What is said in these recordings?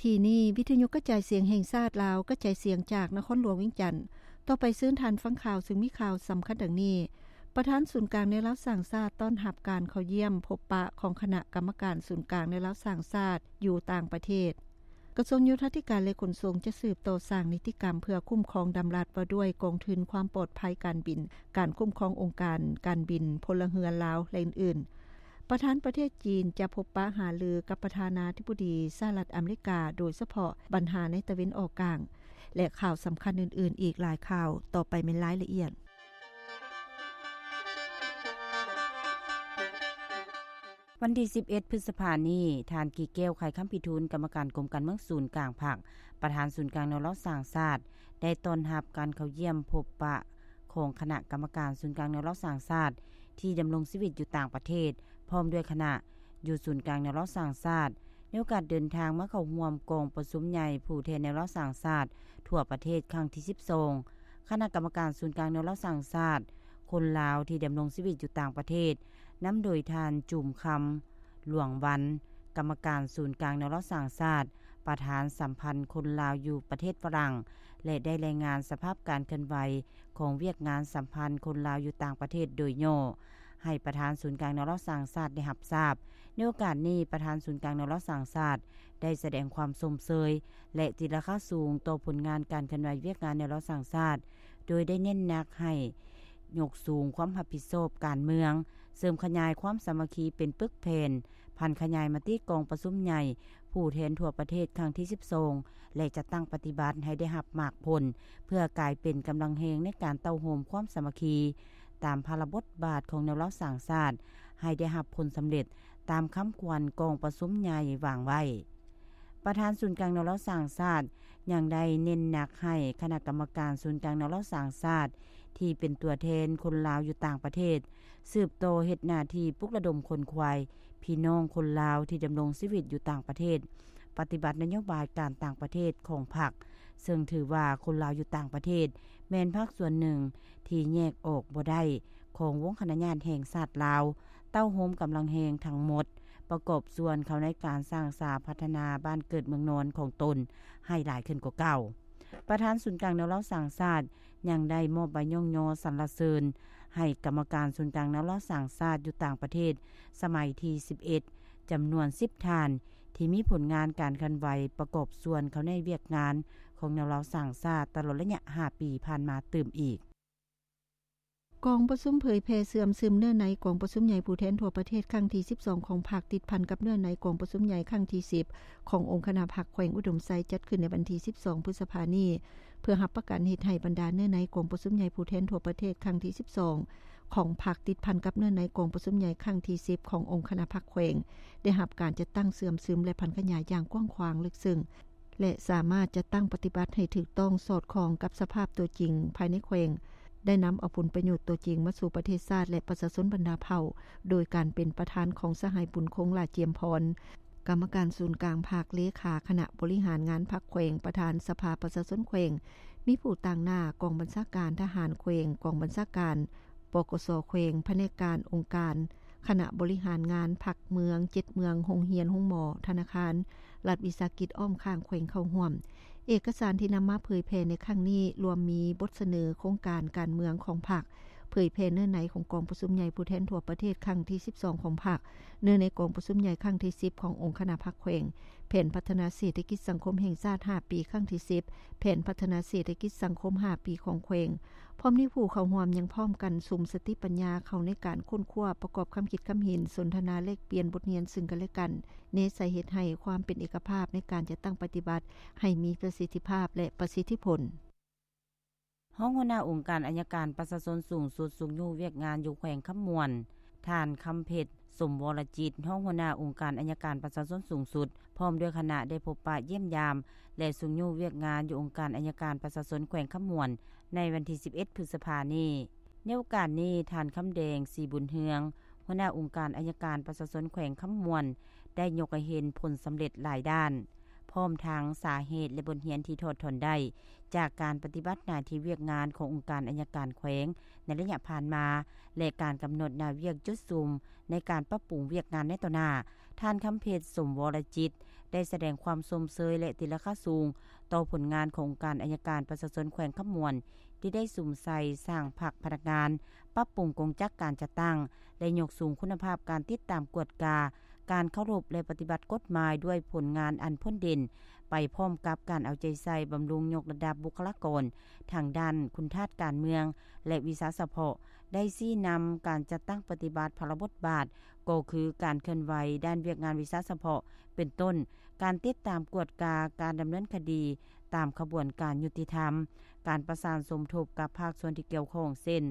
ກີ້ນີ້ ວິທະຍຸກະຈາຍສຽງແຫ່ງຊາດລາວ ກະຈາຍສຽງຈາກນະຄອນຫຼວງວຽງຈັນ. ຕໍ່ໄປເຊີນທ່ານຟັງຂ່າວ ຊຶ່ງມີຂ່າວສຳຄັນດັ່ງນີ້: ປະທານສູນກາງແນວລາວສ້າງຊາດ ຕ້ອນຮັບການເຂົ້າຢ້ຽມພົບປະຂອງຄະນະກຳມະການສູນກາງແນວລາວສ້າງຊາດ ຢູ່ຕ່າງປະເທດ. ກະຊວງໂຍທາທິການ ແລະ ຂົນສົ່ງ ຈະສືບຕໍ່ສ້າງນິຕິກຳເພື່ອຄຸ້ມຄອງດຳລັດວ່າດ້ວຍກອງທຶນຄວາມປອດໄພການບິນ, ການຄຸ້ມຄອງອົງການການບິນພົນລະເຮືອນລາວ ແລະ ອື່ນໆ. ປະທານປະເທດຈີນຈະພົບປະຫາລືກັບປະທານາທິບໍດີສະຫະລັດອາເມລິກາ ໂດຍສະເພາະບັນຫາໃນຕາເວັນອອກກາງ ແລະ ຂ່າວສຳຄັນອື່ນໆອີກຫຼາຍຂ່າວ. ຕໍ່ໄປແມ່ນລາຍລະອຽດ. ວັນທີສິບເອັດ ພຶດສະພານີ້, ທ່ານ ກີແກ້ວ ໄຂຄຳພິທູນ ກຳມະການກົມການເມືອງສູນກາງພັກ, ປະທານສູນກາງແນວລາວສ້າງຊາດ ໄດ້ຕ້ອນຮັບການເຂົ້າຢ້ຽມພົບປະຂອງຄະນະກຳມະການສູນກາງແນວລາວສ້າງຊາດ ທີ່ດຳລົງຊີວິດຢູ່ຕ່າງປະເທດ ພ້ອມດ້ວຍຄະນະ ຢູ່ສູນກາງແນວລາວສ້າງຊາດ ໃນໂອກາດເດີນທາງມາເຂົ້າຮ່ວມກອງປະຊຸມໃຫຍ່ຜູ້ແທນແນວລາວສ້າງຊາດທົ່ວປະເທດຄັ້ງທີສິບສອງ ຄະນະກຳມະການສູນກາງແນວລາວສ້າງຊາດ ຄົນລາວທີ່ດຳລົງຊີວິດຢູ່ຕ່າງປະເທດ ນຳໂດຍທ່ານ ຈູມຄຳ ຫຼວງວັນ ກຳມະການສູນກາງແນວລາວສ້າງຊາດ ປະທານສຳພັນຄົນລາວຢູ່ປະເທດຝຣັ່ງ ແລະ ໄດ້ລາຍງານສະພາບການເຄື່ອນໄຫວຂອງວຽກງານສຳພັນຄົນລາວຢູ່ຕ່າງປະເທດໂດຍຫຍໍ້ ໃຫ້ປະທານສູນກາງແນວລາວສ້າງຊາດໄດ້ຮັບຊາບ. ໃນໂອກາດນີ້, ປະທານສູນກາງແນວລາວສ້າງຊາດ ໄດ້ສະແດງຄວາມຊົມເຊີຍ ແລະ ຕີລາຄາສູງຕໍ່ຜົນງານການເຄື່ອນໄຫວວຽກງານແນວລາວສ້າງຊາດ, ໂດຍໄດ້ເນັ້ນໜັກໃຫ້ຍົກສູງຄວາມຮັບຜິດຊອບການເມືອງ, ເສີມຂະຫຍາຍຄວາມສາມັກຄີເປັນປຶກແຜ່ນ, ຜັນຂະຫຍາຍມະຕິກອງປະຊຸມໃຫຍ່ຜູ້ແທນທົ່ວປະເທດຄັ້ງທີສິບສອງ ແລະ ຈັດຕັ້ງປະຕິບັດໃຫ້ໄດ້ຮັບໝາກຜົນ ເພື່ອກາຍເປັນກຳລັງແຮງໃນການເຕົ້າໂຮມຄວາມສາມັກຄີ ຕາມພາລະບົດບາດຂອງແນວລາວສ້າງຊາດ ໃຫ້ໄດ້ຮັບຜົນສຳເລັດຕາມຄຳຂວັນກອງປະຊຸມໃຫຍ່ວາງໄວ້. ປະທານສູນກາງແນວລາວສ້າງຊາດ ຍັງໄດ້ເນັ້ນໜັກໃຫ້ຄະນະກຳມະການສູນກາງແນວລາວສ້າງຊາດ ທີ່ເປັນຕົວແທນຄົນລາວຢູ່ຕ່າງປະເທດ ສືບຕໍ່ເຮັດໜ້າທີ່ປຸກລະດົມຂົນຂວາຍພີ່ນ້ອງຄົນລາວທີ່ດຳລົງຊີວິດຢູ່ຕ່າງປະເທດ ປະຕິບັດນະໂຍບາຍການຕ່າງປະເທດຂອງພັກ, ເຊິ່ງຖືວ່າຄົນລາວຢູ່ຕ່າງປະເທດ ແມ່ນພາກສ່ວນໜຶ່ງທີ່ແຍກອອກບໍ່ໄດ້ຂອງວົງຄະນະຍາດແຫ່ງຊາດລາວ, ເຕົ້າໂຮມກຳລັງແຮງທັງໝົດ ປະກອບສ່ວນເຂົ້າໃນການສ້າງສາພັດທະນາບ້ານເກີດເມືອງນອນຂອງຕົນໃຫ້ຫຼາຍຂຶ້ນກວ່າເກົ່າ. ປະທານສູນກາງແນວລາວສ້າງຊາດ ຍັງໄດ້ມອບໃບຍ້ອງຍໍສັນລະເສີນໃຫ້ກຳມະການສູນກາງແນວລາວສ້າງຊາດຢູ່ຕ່າງປະເທດ ສະໄໝທີສິບເອັດ ຈຳນວນສິບທ່ານ ທີ່ມີຜົນງານການເຄື່ອນໄຫວປະກອບສ່ວນເຂົ້າໃນວຽກງານຂອງແນວລາວສ້າງຊາດຕະຫຼອດໄລຍະຫ້າປີຜ່ານມາຕື່ມອີກ. ກອງປະຊຸມເຜີຍແຜ່ເຊື່ອມຊຶມເນື້ອໃນກອງປະຊຸມໃຫຍ່ຜູ້ແທນທົ່ວປະເທດຄັ້ງທີສິບສອງຂອງພັກ ຕິດພັນກັບເນື້ອໃນກອງປະຊຸມໃຫຍ່ຄັ້ງທີສິບຂອງອົງຄະນະພັກແຂວງອຸດົມໄຊ ຈັດຂຶ້ນໃນວັນທີສິບສອງ ພຶດສະພານີ້ ເພື່ອຮັບປະກັນເຮັດໃຫ້ບັນດາເນື້ອໃນກອງປະຊຸມໃຫຍ່ຜູ້ແທນທົ່ວປະເທດຄັ້ງທີສິບສອງຂອງພັກ ຕິດພັນກັບເນື້ອໃນກອງປະຊຸມໃຫຍ່ຄັ້ງທີສິບຂອງອົງຄະນະພັກແຂວງ ໄດ້ຮັບການຈັດຕັ້ງເຊື່ອມຊຶມ ແລະ ຜັນຂະຫຍາຍຢ່າງກວ້າງຂວາງເລິກເຊິ່ງ ແລະ ສາມາດຈັດຕັ້ງປະຕິບັດໃຫ້ຖືກຕ້ອງສອດຄ່ອງກັບສະພາບຕົວຈິງພາຍໃນແຂວງ, ໄດ້ນຳເອົາຜົນປະໂຫຍດຕົວຈິງມາສູ່ປະເທດຊາດ ແລະ ປະຊາຊົນບັນດາເຜົ່າ, ໂດຍການເປັນປະທານຂອງສະຫາຍ ບຸນຄົງ ຫຼ້າຈຽມພອນ, ກຳມະການສູນກາງພັກ, ເລຂາຄະນະບໍລິຫານງານພັກແຂວງ, ປະທານສະພາປະຊາຊົນແຂວງ, ມີຜູ້ຕາງໜ້າກອງບັນຊາການທະຫານແຂວງ, ກອງບັນຊາການ ປກສ ແຂວງ, ພະແນກການ, ອົງການ, ຄະນະບໍລິຫານງານພັກເມືອງ, ເຈັດເມືອງ, ໂຮງຮຽນ, ໂຮງໝໍ, ທະນາຄານ, ລັດວິສາຫະກິດອ້ອມຂ້າງແຂວງເຂົ້າຮ່ວມ. ເອກະສານທີ່ນຳມາເຜີຍແຜ່ໃນຄັ້ງນີ້ ລວມມີບົດສະເໜີໂຄງການການເມືອງຂອງພັກ, ເຜີຍແຜ່ເນື້ອໃນຂອງກອງປະຊຸມໃຫຍ່ຜູ້ແທນທົ່ວປະເທດຄັ້ງທີສິບສອງຂອງພັກ, ເນື້ອໃນກອງປະຊຸມໃຫຍ່ຄັ້ງທີສິບຂອງອົງຄະນະພັກແຂວງ, ແຜນພັດທະນາເສດຖະກິດສັງຄົມແຫ່ງຊາດຫ້າປີຄັ້ງທີສິບ, ແຜນພັດທະນາເສດຖະກິດສັງຄົມຫ້າປີຂອງແຂວງ. ພ້ອມນີ້ຜູ້ເຂົ້າຮ່ວມຍັງພ້ອມກັນສຸມສະຕິປັນຍາເຂົ້າໃນການຄົ້ນຄວ້າປະກອບຄຳຄິດຄຳເຫັນ, ສົນທະນາແລກປ່ຽນບົດຮຽນເຊິ່ງກັນແລະກັນ, ແນໃສ່ເຮັດໃຫ້ຄວາມເປັນເອກະພາບໃນການຈັດຕັ້ງປະຕິບັດໃຫ້ມີປະສິດທິພາບ ແລະ ປະສິດທິຜົນ. ຮອງຫົວໜ້າອົງການໄອຍະການປະຊາຊົນສູງສຸດ ຊຸກຍູ້ວຽກງານຢູ່ແຂວງຄຳມ່ວນ, ທ່ານ ຄຳເພັດ ສົມວໍລະຈິດ, ຮອງຫົວໜ້າອົງການໄອຍະການປະຊາຊົນສູງສຸດ ພ້ອມດ້ວຍຄະນະໄດ້ພົບປະຢ້ຽມຢາມ ແລະ ຊຸກຍູ້ວຽກງານຢູ່ອົງການໄອຍະການປະຊາຊົນແຂວງຄຳມ່ວນ ໃນວັນທີສິບເອັດ ພຶດສະພານີ້. ໃນໂອກາດນີ້, ທ່ານ ຄຳແດງ ສີບຸນເຮືອງ, ຫົວໜ້າອົງການໄອຍະການປະຊາຊົນແຂວງຄຳມ່ວນ ໄດ້ຍົກໃຫ້ເຫັນຜົນສຳເລັດຫຼາຍດ້ານ, ພ້ ພ້ອມທັງສາເຫດ ແລະ ບົດຮຽນທີ່ຖອດຖອນໄດ້ ຈາກການປະຕິບັດໜ້າທີ່ວຽກງານຂອງອົງການອັຍການແຂວງໃນໄລຍະຜ່ານມາ ແລະ ການກຳນົດໜ້າວຽກຈຸດສຸມໃນການປັບປຸງວຽກງານໃນຕໍ່ໜ້າ. ທ່ານ ຄຳເພັດ ສົມວໍລະຈິດ ໄດ້ສະແດງຄວາມຊົມເຊີຍ ແລະ ຕີລາຄາສູງຕໍ່ຜົນງານຂອງອົງການອັຍການປະຊາຊົນແຂວງຄຳມ່ວນ ທີ່ໄດ້ສຸມໃສ່ສ້າງພັກພະນັກງານ, ປັບປຸງກົງຈັກການຈັດຕັ້ງ ແລະ ຍົກສູງຄຸນນະພາບການຕິດຕາມກວດກາ ການເຄົາລົບ ແລະ ປະຕິບັດກົດໝາຍດ້ວຍຜົນງານອັນພົ້ນເດັ່ນ, ໄປພ້ອມກັບການເອົາໃຈໃສ່ບຳລຸງຍົກລະດັບບຸກຄະລາກອນທາງດ້ານຄຸນທາດການເມືອງ ແລະ ວິຊາສະເພາະ, ໄດ້ຊີ້ນຳການຈັດຕັ້ງປະຕິບັດພາລະບົດບາດ ກໍຄືການເຄື່ອນໄຫວດ້ານວຽກງານວິຊາສະເພາະ ເປັນຕົ້ນ ການຕິດຕາມກວດກາການດຳເນີນຄະດີຕາມຂະບວນການຍຸຕິທຳ, ການປະສານສົມທົບກັບພາກສ່ວນທີ່ກ່ຽວຂ້ອງ ເຊັ່ນ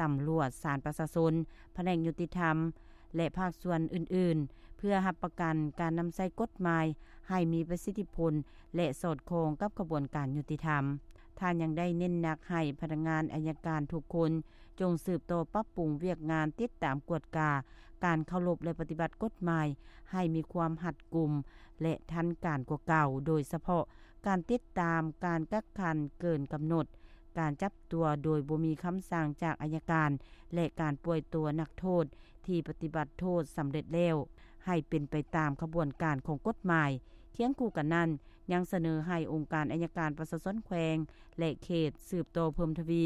ຕຳຫຼວດ, ສານປະຊາຊົນ, ພະແນກຍຸຕິທຳ ແລະ ພາກສ່ວນອື່ນໆ ເພື່ອຮັບປະກັນການນຳໃຊ້ກົດໝາຍໃຫ້ມີປະສິດທິຜົນ ແລະ ສອດຄ່ອງກັບຂະບວນການຍຸຕິທຳ. ທ່ານຍັງໄດ້ເນັ້ນໜັກໃຫ້ພະນັກງານອັຍການທຸກຄົນ ຈົ່ງສືບຕໍ່ປັບປຸງວຽກງານຕິດຕາມກວດກາການເຄົາລົບ ແລະ ປະຕິບັດກົດໝາຍໃຫ້ມີຄວາມຮັດກຸມ ແລະ ທັນການກວ່າເກົ່າ, ໂດຍສະເພາະການຕິດຕາມການກັກຂັງເກີນກຳນົດ, ການຈັບຕົວໂດຍບໍ່ມີຄຳສັ່ງຈາກອັຍການ ແລະ ການປ່ອຍຕົວນັກໂທດທີ່ປະຕິບັດໂທດສຳເລັດແລ້ວ ໃຫ້ເປັນໄປຕາມຂະບວນການຂອງກົດໝາຍ. ຄຽງຄູ່ກັນນັ້ນ, ຍັງສະເໜີໃຫ້ອົງການອັຍການປະຊາຊົນແຂວງ ແລະ ເຂດ ສືບຕໍ່ເພີ່ມທະວີ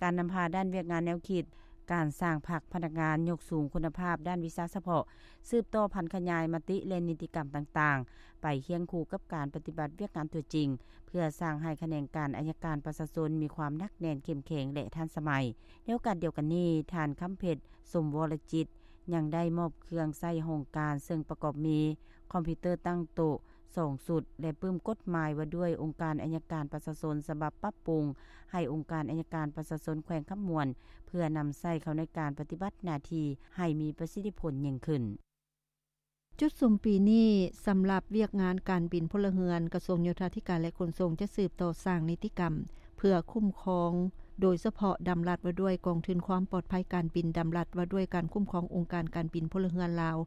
ການນຳພາດ້ານວຽກງານແນວຄິດ, ການສ້າງພັກພະນັກງານ, ຍົກສູງຄຸນນະພາບດ້ານວິຊາສະເພາະ, ສືບຕໍ່ຜັນຂະຫຍາຍມະຕິ ແລະ ນິຕິກຳຕ່າງໆ ໄປຄຽງຄູ່ກັບການປະຕິບັດວຽກງານຕົວຈິງ, ເພື່ອສ້າງໃຫ້ຂະແໜງການອັຍການປະຊາຊົນມີຄວາມໜັກແໜ້ນ, ເຂັ້ມແຂງ ແລະ ທັນສະໄໝ. ໃນໂອກາດດຽວກັນນີ້, ທ່ານ ຄຳເພັດ ສົມວໍລະຈິດ ຍັງໄດ້ມອບເຄື່ອງໃຊ້ຫ້ອງການ ເຊິ່ງປະກອບມີຄອມພິວເຕີຕັ້ງໂຕະ ສອງຊຸດ ແລະ ປຶ້ມກົດໝາຍວ່າດ້ວຍອົງການອັຍການປະຊາຊົນ ສະບັບປັບປຸງໃຫ້ອົງການອັຍການປະຊາຊົນແຂວງຄຳມ່ວນ ເພື່ອນຳໃຊ້ເຂົ້າໃນການປະຕິບັດໜ້າທີ່ໃຫ້ມີປະສິດທິຜົນຍິ່ງຂຶ້ນ. ຈຸດສຸມປີນີ້ ສຳລັບວຽກງານການບິນພົນລະເຮືອນ, ກະຊວງໂຍທາທິການ ແລະ ຂົນສົ່ງ ຈະສືບຕໍ່ສ້າງນິຕິກຳ ເພື່ອຄຸ້ມຄອງ ໂດຍສະເພາະດຳລັດວ່າດ້ວຍກອງທຶນຄວາມປອດໄພການບິນ, ດຳລັດວ່າດ້ວຍການຄຸ້ມຄອງອົງການການບິນພົນລະເຮືອນລາວ,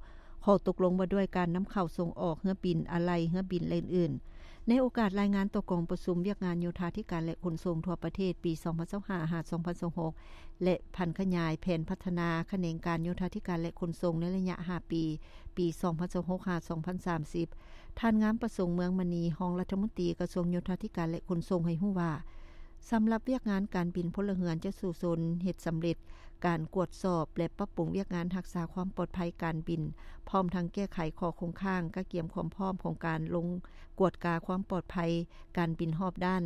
ຂໍ້ຕົກລົງວ່າດ້ວຍການນຳເຂົ້າສົ່ງອອກເຮືອບິນ, ອາໄຫຼ່ເຮືອບິນ ແລະ ອື່ນໆ. ໃນໂອກາດລາຍງານຕໍ່ກອງປະຊຸມວຽກງານໂຍທາທິການ ແລະ ຂົນສົ່ງທົ່ວປະເທດ ປີສອງພັນຊາວຫ້າ ຫາ ສອງພັນຊາວຫົກ ແລະ ຜັນຂະຫຍາຍແຜນພັດທະນາຂະແໜງການໂຍທາທິການ ແລະ ຂົນສົ່ງໃນໄລຍະຫ້າປີ, ປີສອງພັນຊາວຫົກ ຫາ ສອງພັນສາມສິບ, ທ່ານ ງາມປະສົງ ເມືອງມະນີ, ຮອງລັດຖະມົນຕີກະຊວງໂຍທາທິການ ແລະ ຂົນສົ່ງ ໃຫ້ຮູ້ວ່າ ສຳລັບວຽກງານການບິນພົນລະເຮືອນຈະສູ້ຊົນເຮັດສຳເລັດການກວດສອບ ແລະ ປັບປຸງວຽກງານຮັກສາຄວາມປອດໄພການບິນ, ພ້ອມທັງແກ້ໄຂຂໍ້ຄົງຄ້າງ, ກະກຽມຄວາມພ້ອມຂອງການລົງກວດກາຄວາມປອດໄພການບິນຮອບດ້ານ,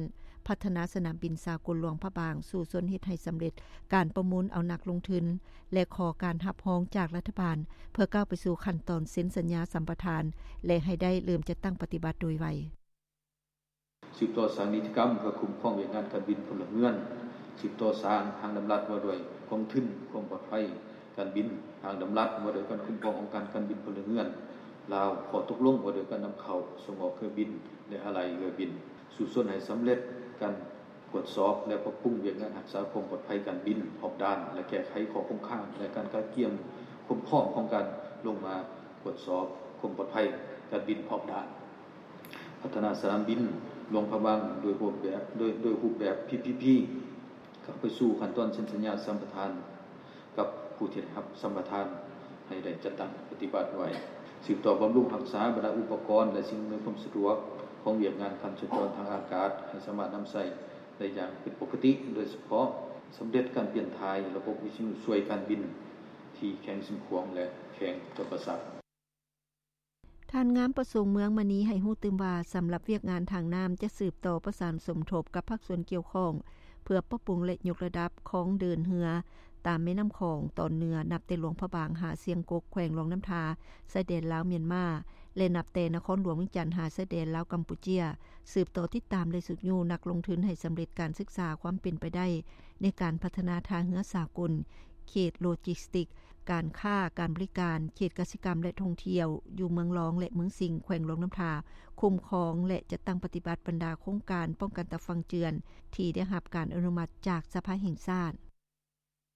ພັດທະນາສະໜາມບິນສາກົນຫຼວງພະບາງ, ສູ້ຊົນເຮັດໃຫ້ສຳເລັດການປະມູນເອົານັກລົງທຶນ ແລະ ຂໍການຮັບຮອງຈາກລັດຖະບານ ເພື່ອກ້າວໄປສູ່ຂັ້ນຕອນເຊັນສັນຍາສຳປະທານ ແລະ ໃຫ້ໄດ້ເລີ່ມຈັດຕັ້ງປະຕິບັດໂດຍໄວ. ສືບຕໍ່ສ້າງນິຕິກຳເພື່ອຄຸ້ມຄອງວຽກງານການບິນພົນລະເຮືອນ, ສືບຕໍ່ສ້າງຮ່າງດຳລັດວ່າດ້ວຍກອງທຶນຄວາມປອດໄພການບິນ, ຮ່າງດຳລັດວ່າດ້ວຍການຄຸ້ມຄອງອົງການການບິນພົນລະເຮືອນລາວ, ຂໍ້ຕົກລົງວ່າດ້ວຍການນຳເຂົ້າສົ່ງອອກເຮືອບິນ ແລະ ອາໄຫຼ່ເຮືອບິນ, ສູ້ຊົນໃຫ້ສຳເລັດການກວດສອບ ແລະ ປັບປຸງວຽກງານຮັກສາຄວາມປອດໄພການບິນຮອບດ້ານ ແລະ ແກ້ໄຂຂໍ້ຄົງຄ້າງ ແລະ ການກະກຽມຄວາມພ້ອມຂອງການລົງມາກວດສອບຄວາມປອດໄພການບິນຮອບດ້ານ. ພັດທະນາສະໜາມບິນຫຼວງພະບາງໂດຍຮູບແບບ, ໂດຍ, ໂດຍຮູບແບບ ພີພີພີ ເຂົ້າໄປສູ່ຂັ້ນຕອນເຊັນສັນຍາສຳປະທານກັບຜູ້ທີ່ໄດ້ຮັບສຳປະທານ ໃຫ້ໄດ້ຈັດຕັ້ງປະຕິບັດໄວ. ສືບຕໍ່ບຳລຸງຮັກສາບັນດາອຸປະກອນ ແລະ ສິ່ງອຳນວຍຄວາມສະດວກຂອງວຽກງານການສັນຈອນທາງອາກາດ ໃຫ້ສາມາດນຳໃຊ້ໄດ້ຢ່າງເປັນປົກກະຕິ, ໂດຍສະເພາະສຳເລັດການປ່ຽນຖ່າຍລະບົບວິທະຍຸຊ່ວຍການບິນທີ່ແຂວງຊຽງຂວາງ ແລະ ແຂວງຈຳປາສັກ. ທ່ານ ງາມປະສົງ ເມືອງມະນີ ໃຫ້ຮູ້ຕື່ມວ່າ ສຳລັບວຽກງານທາງນ້ຳ ຈະສືບຕໍ່ປະສານສົມທົບກັບພາກສ່ວນກ່ຽວຂ້ອງ ເພື່ອປັບປຸງ ແລະ ຍົກລະດັບຄອງເດີນເຮືອຕາມແມ່ນ້ຳຂອງຕອນເໜືອ ນັບແຕ່ຫຼວງພະບາງຫາຊຽງກົກ ແຂວງຫຼວງນ້ຳທາ ຊາຍແດນລາວ-ມຽນມາ ແລະ ນັບແຕ່ນະຄອນຫຼວງວຽງຈັນຫາຊາຍແດນລາວກຳປູເຈຍ, ສືບຕໍ່ຕິດຕາມ ແລະ ຊຸກຍູ້ນັກລົງທຶນໃຫ້ສຳເລັດການສຶກສາຄວາມເປັນໄປໄດ້ໃນການພັດທະນາທ່າເຮືອສາກົນ, ເຂດໂລຈິສຕິກ, ການຄ້າ, ການບໍລິການ, ເຂດກະສິກຳ ແລະ ທ່ອງທ່ຽວ ຢູ່ເມືອງລອງ ແລະ ເມືອງສິງ ແຂວງຫຼວງນ້ຳທາ, ຄຸ້ມຄອງ ແລະ ຈັດຕັ້ງປະຕິບັດບັນດາໂຄງການປ້ອງກັນຕາຝັ່ງເຈື່ອນ ທີ່ໄດ້ຮັບການອະນຸມັດຈາກສະພາແຫ່ງຊາດ.